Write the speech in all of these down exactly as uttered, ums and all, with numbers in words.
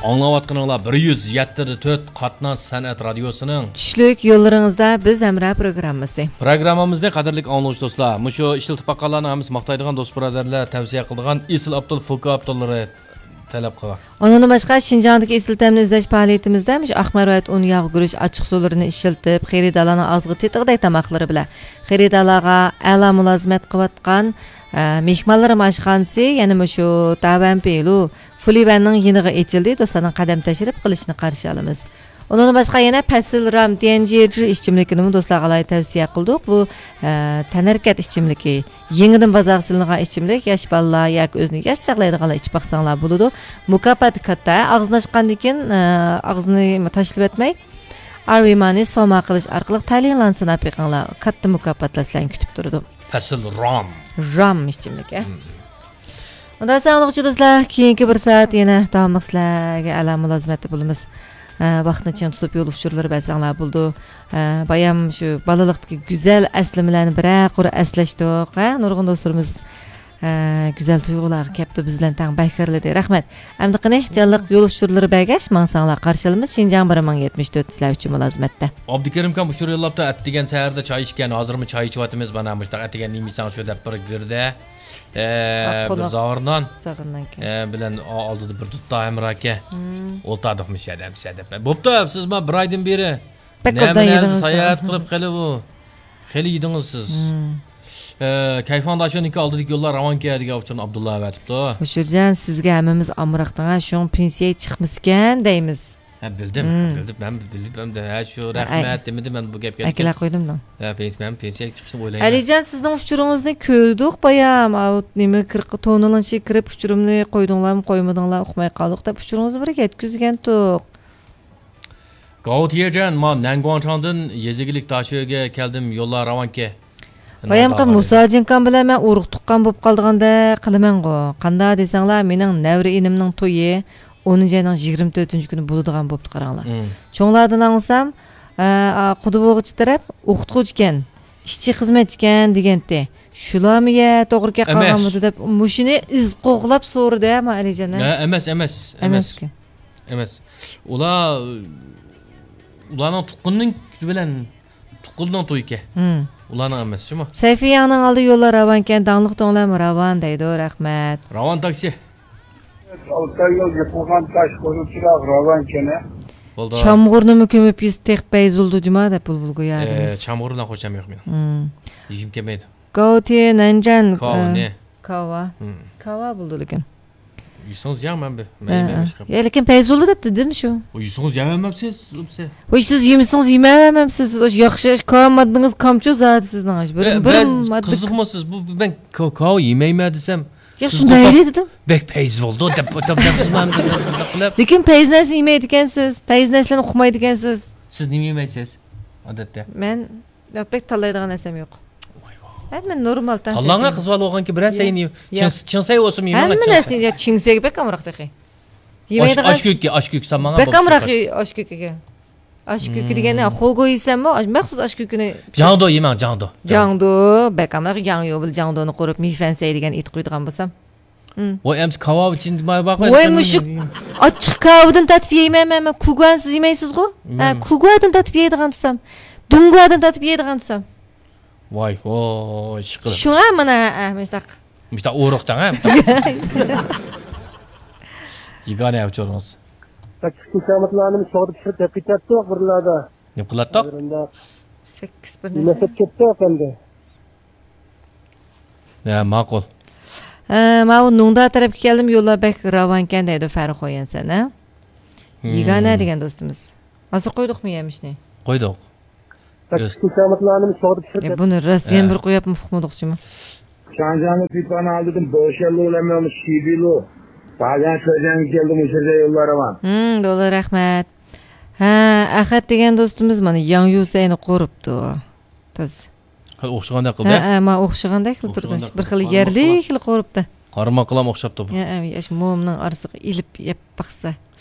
ئاڭلاۋاتقىنىڭلار بىر يۈز يەتتە تۆت قاتناش سەنئەت رادىيوسىنىڭ چۈشلۈك يوللىرىڭىزدا بىز ھەمراھ پروگراممىسى. پروگراممىمىزنى قەدىرلىك ئاڭلىغۇچى دوستلار، مۇشۇ ئىشلىتىپ باققانلارنىڭ ھەممىسى ماختايدىغان، دوست بۇرادەرلەر تەۋسىيە قىلىدىغان ئېسىل ئابدۇل فوكا ئابدۇللىرى تەلەپ قىلغان. ئۇنىڭدىن باشقا، شىنجاڭدىكى ئېسىل تەمنى ئىزدەش پائالىيىتىمىزدە مۇشۇ ئاق مەرۋەت ئۇن، ياغ گۈرۈچ، ئاچچىق سۇلىرىنى ئىشلىتىپ، خېرىدارلارنىڭ ئاغزىغا تېتىغۇدەك تاماقلىرى بىلەن خېرىدارلارغا ئەلا مۇلازىمەت قىلىۋاتقان، ئە، مېھمانلىرىم ئاشخانىسى، يەنە مۇشۇ داۋەنپىلۇ فۇلىۋەننىڭ يېنىغا ئېچىلدى. دوستلارنىڭ قەدەم تەشرىپ قىلىشىنى قارشى ئالىمىز. ئۇنىڭدىن باشقا يەنە پەسىل رام تيەنجىجى ئىچىملىكىنىمۇ دوستلارغا ئالاھىدە تەۋسىيە قىلدۇق. بۇ، ئە، تەنھەرىكەت ئىچىملىكى. يېڭىدىن بازارغا سېلىنغان ئىچىملىك، ياش بالىلار ياكى ئۆزىنى ياش چاغلايدىغانلار ئىچىپ باقساڭلار بولىدۇ. مۇكاپاتى كاتتا. ئاغزىنى ئاچقاندىن كېيىن، ئە، ئاغزىنى تاشلىۋەتمەي، ئارۋىمانى سوما قىلىش ئارقىلىق تەلىيىڭلارنى سىناپ بېقىڭلار. كاتتا مۇكاپاتلار سىلەرنى كۈتۈپ تۇرىدۇ. پەسىل رام. رام ئىچىملىك، ئە. مم. ئۇنداق ساڭلىغۇچى دوستلار، كېيىنكى بىر سائەت يەنە داۋاملىق سىلەرگە ئەلا مۇلازىمەتتە بولىمىز. ئە، ۋاقىتنى چىڭ تۇتۇپ يول ئۇچۇرلىرى بەرسەڭلار بولىدۇ. ئە، بايام شۇ بالىلىقتىكى گۈزەل ئەسلىمىلەرنى بىرەر قۇر ئەسلەشتۇق. ھە، نۇرغۇن دوستلىرىمىز، ئە، گۈزەل تۇيغۇلارغا كەپتۇ، بىز بىلەن تەڭ بەھرىلىدى. رەھمەت. ئەمدى قېنى، جانلىق يول ئۇچۇرلىرى بەرگەچ، ماڭساڭلار قارشى ئالىمىز. شىنجاڭ بىر مىڭ يەتمىش تۆت سىلەر ئۈچۈن مۇلازىمەتتە. ئابدۇكېرىم ئاكام ئۇچۇر يوللاپتۇ، ئەتىگەن سەھەردە چاي ئىچكەن، ھازىرمۇ چاي ئىچىۋاتىمىز، مانا مۇشۇنداق ئەتىگەن نېمە يېسەڭ شۇ دەپ بىر گىردە. ئە، بىر قوناق. زاغرىنان. زاغرىنان ئىكەن. ئە، بىلەن ئا-، ئالدىدا بىر دۇتتا ھەمراھ ئىكەن. مم. ئولتۇردۇق مۇشۇ يەردە، مۇشۇ يەردە. بوپتۇ، سىز ما بىر ئايدىن بېرى بەك نەمە ئوبدان نەمە يېدىڭىز ساياھەت قىلىپ خېلى بۇ. خېلى يېدىڭىز سىز. مم. ئە، كەيفاڭ داشونىڭكى ئالدىدىكى يوللار راۋانكەن دېگەن ئۇچۇرنى ئابدۇللا ئەۋەتىپتۇ. ئۇچۇرجان، سىزگە ھەممىمىز ئامراقتىڭ ھە، شۇڭا پېنسىيە چىقمىسىكەن دەيمىز. ھە، بىلدىم، مم. بىلدىم، مەن بىلدىم، مەن ھە، شۇ ھە، رەھمەت دېمىدىم، مەن بۇ گەپكە ئەكىلە قويدۇم دەڭ. ھە، پېنس-، مەن پېنسىيەگە چىقىشنى ئويلايمەن. ئەلىجان، سىزنىڭ ئۇچۇرىڭىزنى كۆردۇق بايام، ئاۋۇ نېمە كىر-، تونىنىڭ ئىچىگە كىرىپ ئۇچۇرۇمنى قويدۇڭلارمۇ، قويمىدىڭلار، ئۇقماي قالدۇق دەپ ئۇچۇرىڭىزنى بىر يەتكۈزگەنتۇق. گاۋۇ تيېجەن، ما نەنگۇاڭچاڭدىن يېزا ئىگىلىك داشۆگە كەلدىم، يوللار راۋانكەن. بايامقى مۇساجىنكام بىلەن مەن ئۇرۇق تۇغقان بولۇپ قالىدىغاندەك قىلىمەنغۇ. قانداق دېسەڭلار، مېنىڭ نەۋرە ئىنىمنىڭ تويى ئونىنچى ئاينىڭ يىگىرمە تۆتىنچى كۈنى بولىدىغان بوپتۇ، قاراڭلار. مم. چوڭلاردىن ئاڭلىسام، ئە، ئا، قۇدىبوغىچى تەرەپ ئوقۇتقۇچىكەن، ئىشچى خىزمەتچىكەن دېگەنتى. شۇلارمۇ يە توغرا كەپ قالغانمىدۇ دەپ، مۇشۇنى ئىز قوغلاپ سورىدى، ھە، ما ئەلىجان، ھە؟ ھە، ئەمەس، ئەمەس، ئەمەس. ئەمەسكەن. ئەمەس. ئۇلار، ئۇلارنىڭ تۇغقىنىنىڭ بىلەن تۇغقىنىنىڭ تويىكەن. ھىم. ئۇلارنىڭ ئەمەس، شۇمۇ؟ سەيفىياڭنىڭ ئالدى يوللار راۋانكەن، داڭلىق دۆڭلەرمۇ راۋان دەيدۇ، رەھمەت. راۋان تاكسى. ئالتاي يول يېپىلغان تاش قويۇلچىراغ راۋانكەن. بولدى. چامغۇرنىمۇ كۆمۈپ يېسە تېخى پەيزۇلدى جۇما دەپ بۇلبۇل گويا ئە، دېمىز. چامغۇر بىلەن خوشام يوق مېنىڭ. ھىم. يېگۈم كەلمەيدۇ. گاۋتى نەنجان، كاۋا ئە، نى؟ كاۋا. ھىم. كاۋا بولدى لېكىن. يېسىڭىز يەڭ، مەن بى-، مەن ھە، يېمەيمەن ھە. ھېچقانداق. يا، لېكىن پەيزۇللا دەپ دېدىم شۇ. ئۇ يېسىڭىز يەۋەرمەمسىز، ئۇ بىسە. ۋاي، سىز يېمىسىڭىز يېمەۋەرمەمسىز. ئۇ ياخشى، كاۋا ماددىڭىز كامچۇ زادى سىزنىڭ. بىر، ھە، بىر مەن ماددا قىزىقماسىز. بۇ، بۇ، مەن كاۋا، كاۋا يېمەيمەن دېسەم، ياخشى، سىز مەيلى قورقۇپ، دېدىم. بەك پەيزى بولىدۇ دەپ، دەپ، دەپ، دەپ، دەپ، دەپ. لېكىن پەيزى نەرسىنى يېمەيدىكەنسىز. پەيزى نەرسىلەرنى ئۇقمايدىكەنسىز. سىز نېمە يېمەيسىز، ئادەتتە؟ مەن بەك تاللايدىغان نەرسەم يوق. ۋاي، ۋاي. ھەممە نورمال تەڭ تاللاڭا شەكىل. قىز بالا بولغانكى بىرەر يا. سەينى يا. چىڭ-، چىڭسەي بولسۇن يېمەڭ، ھەممە چىڭسەي. نەرسىنى، يا، چىڭسەيگە بەك ئامراق تېخى. ئاش-، يېمەيدىغان ئاشكۆككە، ئاشكۆك سالماڭا بەك بولۇپ ئامراق چىقار. ئاش كۆكىگە. ئاش كۆكى دېگەننى، مم. خوگو يېسەممۇ، مەخسۇس ئاش كۆكىنى. جاڭدو يېمەڭ، جاڭدو. جاڭدو، بەك ئامراق، ياڭيۇ بىلەن جاڭدونى قورۇپ، مىفەنسەي دېگەن ئېيتىپ قويىدىغان بولسام. ھىم. ۋاي، ئەمسە كاۋا ئىچىندە بار، بار قوي، ۋاي، مۇشۇ ئاچچىق كاۋىدىن تارتىپ يەيمەن مەن، مەن كۇگۇانسىز يېمەيسىزغۇ؟ ھە، مەن كۇگۇادىن تارتىپ يەيدىغان تۇرسام، دۇڭگۇادىن تارتىپ يەيدىغان تۇرسام. ۋاي، ۋاي، ئىشقىلىپ. شۇڭا مانا، ھە، ھە، مۇشتاق. مۇشتاق ئورۇق دەڭ، ھە، مۇشتاق. يېگانە ئۇچۇرىڭىز. بەك كۈچلۈك كامېتلارنى سوغدى پىشۇرۇپ دەپ كېتەتتۇق بىرلەردە. نېمە قىلاتتۇق؟ سەككىز بىر نېمە نەرسە. دەپ كەتتۇق ئەمدى. يا، ماقۇل. ئە، ماۋۇ نۇڭدا تەرەپكە كەلدىم، يوللار بەك راۋانكەن دەيدۇ فەرخۇيەن سەن، ھە؟ ھىم. يېگانە دېگەن دوستىمىز. ھازىر قويدۇقمۇ يەمىشنى؟ قويدۇق. بەك ئۆز- كۈچلۈك كامېتلارنى سوغدى پىشۇرۇپ يا، بۇنى راسىيەن ھە. بىر قويۇپمۇ ئۇقمىدۇقچىمۇ؟ شاڭجياڭنى پىپانى ئالدىدىم، بوشەنلۇ بىلەن مېڭىمۇ شىبىلۇ. تازەن شۆجەنگە كەلدىم، ئۇ يەردە يوللار راۋان. ھىم، بولدى، رەھمەت. ھە، ئەخەت دېگەن دوستىمىز مانا ياڭيۇسەينى قورۇپتۇ. تاز. ھە، ئوخشىغاندەك قىلدى. ھە، ھە، ما ئوخشىغاندەك قىلىپ تۇردى. ئوخشىغاندەك بىر خىل قىلدى. يەرلىك خىل قورۇپتۇ. قارىماقلام ئوخشاپتۇ بۇ. ھە، ھە، ياش مومنىڭ ئارىسىغا ئېلىپ يەپ باقسا.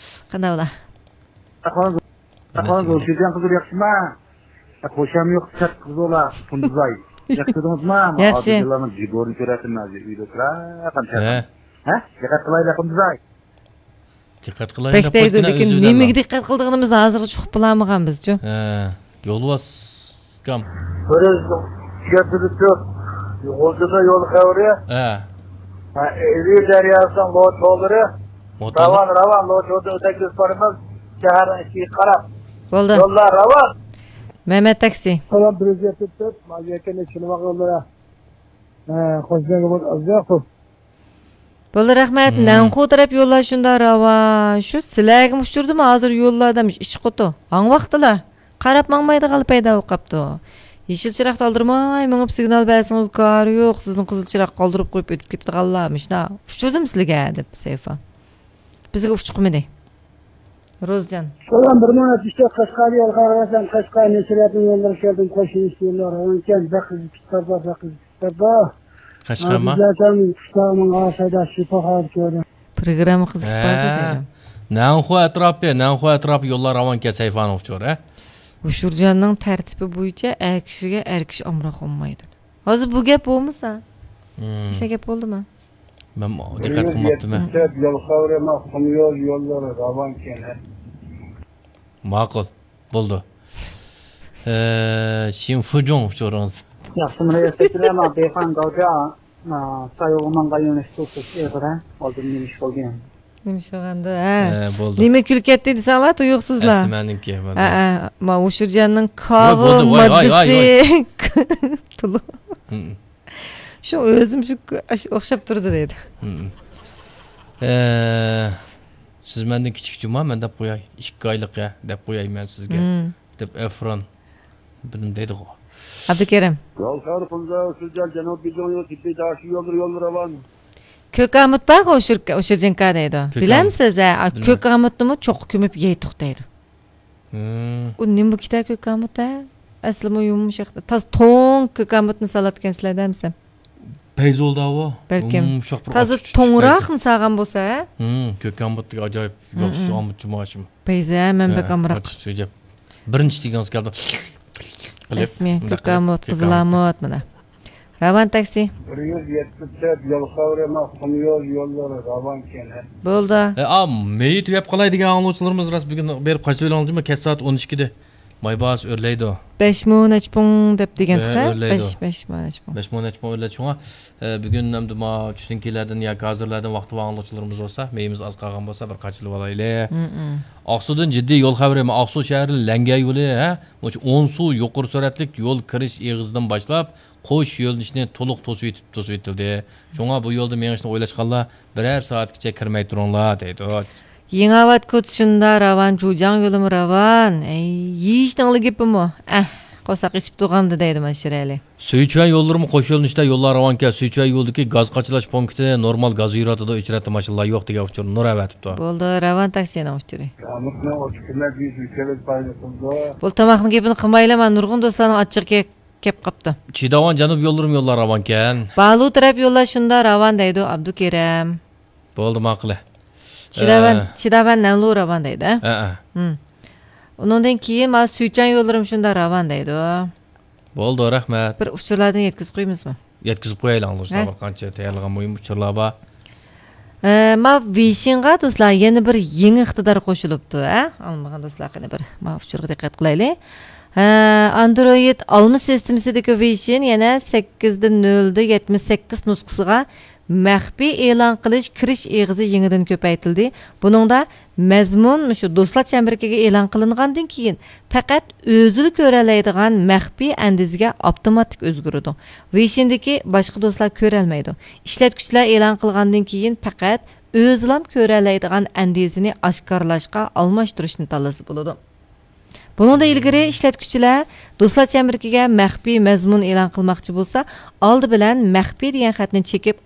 قانداق بولا؟ ئەخۋان، ئەخۋان، شىنجاڭ قىزلىرى ياخشىما؟ خوشام يوق، سەت قىز بولا، قۇندۇزاي. ياخشى تۇردىڭىزما؟ ياخشى. ئادىللارنىڭ جىگورىنى كۆرەتتىم ھازىر، ئۆيدە ئولتۇرا، قانچە. ھە. ھە؟ دىققەت قىلايلى، قۇندۇزاي. دىققەت قىلايلى بەك دەپ دەيدۇ، قويدۇڭ-ە لېكىن ئۆزۈڭ نېمىگە ئەمما. دىققەت قىلىدىغىنىمىزنى ھازىرغىچە ئۇقۇپ بولالمىغانبىزچۇ. ھە، يولۋاس ئۇكام. بىر يۈز يەتتە تۆت غۇلجىدا يول خەۋىرى. ھە. ھە، ئىلى دەرياسىنىڭ لوچۇلىرى. موتور. راۋان، راۋان، لوچۇدىن ئۆتەكلىشىپ بارىمىز. شەھەرنىڭ ئىچىگە قاراپ. بولدى. يوللار راۋان. مەمەت تاكسى. سالام، بىر يۈز يەتتە تۆت، ماجىيەكەننى چىنىۋالغانلار. ھە، خوش گەلگەن بولدى، ئازراق. بولدى، رەھمەت. مم. نەنخۇ تەرەپ يوللار شۇنداق راۋان. شۇ سىلەرگىمۇ ئۇچرىدىمۇ ھازىر يوللاردا ئىچ قۇتۇ؟ ھاڭ ۋاقتىلا. قاراپ ماڭمايدىغانلا پەيدا بولۇپ قاپتۇ. يېشىل چىراغدا ئالدىرىماي مېڭىپ سىگنال بەرسىڭىز كارى يوق، سىزنىڭ قىزىل چىراغ قالدۇرۇپ قويۇپ ئۆتۈپ كېتىدىغانلار مۇشۇنداق. ئۇچرىدىمۇ سىلىگە؟ دەپ سەيفا. بىزگە ئۇچۇقمىدى. روزجان. سالام، بىر مىڭ ئەتمىش تۆت قەشقەر يول خەۋىرى، قەشقەر نەشرىياتىنىڭ يوللىرى شەھەردىن قوشۇلۇش يوللار راۋانكەن، بەك قىزىق كىتابلار، بەك قىزىق كىتابلار. قەشقەرما؟ ھازىر قۇشلارنىڭ ئاسايدا شىپاخانا كۆردۈم. پروگرامما قىزىق ئىپادە ھە. دەيدۇ. نەنخۇ ئەتراپى، نەنخۇ ئەتراپى يوللار راۋانكەن سەيفانىڭ ئۇچۇرى، ھە؟ ئۇچۇرجاننىڭ تەرتىپى بويىچە ئەر كىشىگە ئەر كىشى ئامراق بولمايدۇ. ھازىر بۇ گەپ بولمىسا، مم. بىشتا گەپ بولدىمۇ؟ مەن دىققەت قىلماپتىمەن. يول خەۋىرى، مەن قۇم يول يوللىرى راۋانكەن. ماقۇل، بولدى. ئە، شىنفۇجۇڭ ئۇچۇرىڭىز. ياخشىمۇ رەئىس ۋەكىللەر، مانا دېخان گاۋجا، ئا، سايوغۇمانغا يۆنىلىش تۇرۇش ئېغىر، ھە؟ ئالدىن نېمە ئىش بولدى يەنە؟ نېمە ئىش بولغاندۇ، ھە؟ ئە، بولدى. نېمە كۈلۈپ كەتتى دېسەڭلار، تۇيۇقسىزلا. ئەسلى مەنىڭكى، بولدى. ھە، ھە. ما، ۋۇشۇرجاننىڭ ۋاي، بولدى، كاۋا ۋاي، ۋاي، ۋاي. ماددىسى تولۇق. ھم. شۇ ئۆزۈم شۇ ئوخشاپ تۇرىدۇ دەيدۇ. ھم. ئە، سىز مەندىن كىچىك جۇما، مەن دەپ قوياي. ئىككى ئايلىق يا، دەپ قوياي مەن سىزگە. ھم. دەپ ئەفران بىلىم دەيدىغۇ. ئابدۇكېرىم. يول خەۋىرى قۇمدا، سۈرجەل، جەنۇب بېيجىڭ يولى، تىپى داشى يوللىرى، يوللىرى راۋان. كۆك ئامۇت بارغۇ، ئۇشۇر-، ئۇشۇرجىنكا دەيدۇ. كۆك ئامۇت. بىلەمسىز، ھە؟ بىلمەيمەن. كۆك ئامۇتنىمۇ چوققا كۆمۈپ يەيتۇق دەيدۇ. ھىم. ئۇ نېمە بۇ كىتا كۆك ئامۇت، ھە؟ ئەسلىمۇ يۇمشاق. تازا توڭ كۆك ئامۇتنى سالاتكەنسىلەر دەمسەم. پەيزولدا ئۇ. بەلكىم. يۇمشاق بىر تازا ئاچچىق چۈشۈپ توڭراقنى سالغان بولسا، ھە؟ ھىم، كۆك ئامۇتتىكى ئاجايىپ ياخشى ئامۇت جۇمۇ ئاشۇمۇ. پەيزى، ھە، مەن بەك ئامراق. ئاچچىق چۈشۈپ. بىرىنچى دېگىڭىز كەلدى. رەسمىي، كۆك ئامۇت، قىزىل ئامۇت، مانا. راۋان تاكسى. بىر يۈز يەتمىش تۆت يول خەۋىرى، مەن قۇم يول يوللىرى راۋانكەن. بولدى. ئە، ئا، مېيىت يەپ قالاي دېگەن ئاڭلىغۇچىلىرىمىز راست بۈگۈن بېرىپ قاچىلىۋېلىڭلار، كەچ سائەت ئون ئىككىدە. مايباس ئۆرلەيدۇ. بەش مو نەچچە پۇڭ دەپ دېگەنتۇق، ھە، ھە؟ ئۆرلەيدۇ. بەش، بەش مو نەچچە پۇڭ. بەش مو نەچچە پۇڭ ئۆرلەيدۇ. شۇڭا، ئە، بۈگۈن ئەمدى ما چۈشتىن كېيىنلەردىن ياكى ھازىرلاردىن ۋاقتى بار ئاڭلىغۇچىلىرىمىز بولسا، مېيىمىز ئاز قالغان بولسا، بىر قاچىلىۋالايلى. ھىم، ھىم. ئاقسۇدىن جىددىي يول خەۋىرى. ئاقسۇ شەھىرى لەڭگە يولى، ھە؟ مۇشۇ ئونسۇ يۇقىرى سۈرئەتلىك يول كىرىش ئېغىزىدىن باشلاپ، قوش يۆنىلىشنى تولۇق توسۇۋېتىپ، توسۇۋېتىلدى. شۇڭا بۇ يولدا مېڭىشنى ئويلاشقانلار بىرەر سائەتكىچە كىرمەي تۇرۇڭلار، دەيدۇ. يېڭىئاۋات كوچىسى شۇنداق راۋان، جۇجاڭ يولىمۇ راۋان. ئەي، يېيىشنىڭلا گېپىمۇ. ئەھ، قورساق ئېچىپ تۇرغاندا دەيدۇ مانا شىرئەلى. سۈيچۈەن يوللىرىمۇ قوش يۆنىلىشتە يوللار راۋانكەن، سۈيچۈەن يولىدىكى گاز قاچىلاش پونكىتى نورمال گاز يۈرۈۋاتىدۇ، ئۆچرەتتە ماشىنىلار يوق دېگەن ئۇچۇرنى نۇر ئەۋەتىپتۇ. بولدى، راۋان تاكسىنىڭ ئۇچۇرى. بۇ تاماقنىڭ گېپىنى قىلمايلى، مانا نۇرغۇن دوستلارنىڭ ئاچچىقى كەپ قاپتۇ. چىداۋان جەنۇب يوللىرىمۇ يوللار راۋانكەن. بالۇ تەرەپ يوللار شۇنداق راۋان دەيدۇ ئابدۇكېرەم. بولدى، ماقۇلى. چىداۋان، ئە، چىداۋان نەنلۇ راۋان دەيدۇ، ھە؟ ھە، ھە. ھىم. ئۇنىڭدىن كېيىن مانا سۈيچۈەن يوللىرىمۇ شۇنداق راۋان دەيدۇ. بولدى، رەھمەت. بىر ئۇچۇرلاردىن يەتكۈزۈپ قويىمىزمۇ؟ يەتكۈزۈپ قويايلى ئاڭلىغۇچىلار، ھە؟ بىر قانچە تەييارلىغان مۇھىم ئۇچۇرلار بار. ئە، ما ۋېيشىنغا دوستلار يەنە بىر يېڭى ئىقتىدار قوشۇلۇپتۇ، ھە؟ ئاڭلىمىغان دوستلار قېنى بىر ما ئۇچۇرغا دىققەت قىلايلى. ھە، ئاندرويد ئالما سىستېمىسىدىكى ۋېيشىن يەنە سەككىز نۆل يەتمىش سەككىز نۇسخىسىغا مەخپىي ئېلان قىلىش كىرىش ئېغىزى يېڭىدىن كۆپەيتىلدى. بۇنىڭدا مەزمۇن مۇشۇ دوستلار چەمبىرىكىگە ئېلان قىلىنغاندىن كېيىن پەقەت ئۆزىلا كۆرەلەيدىغان مەخپىي ئەندىزىگە ئاپتوماتىك ئۆزگىرىدۇ. ۋېيشىندىكى باشقا دوستلار كۆرەلمەيدۇ. ئىشلەتكۈچىلەر ئېلان قىلغاندىن كېيىن پەقەت ئۆزىلام كۆرەلەيدىغان ئەندىزىنى ئاشكارىلاشقا ئالماشتۇرۇشنى تاللىسا بولىدۇ. بۇنىڭدىن ئىلگىرى ئىشلەتكۈچىلەر دوستلار چەمبىرىكىگە مەخپىي مەزمۇن ئېلان قىلماقچى بولسا، ئالدى بىلەن مەخپىي دېگەن خەتنى چېكىپ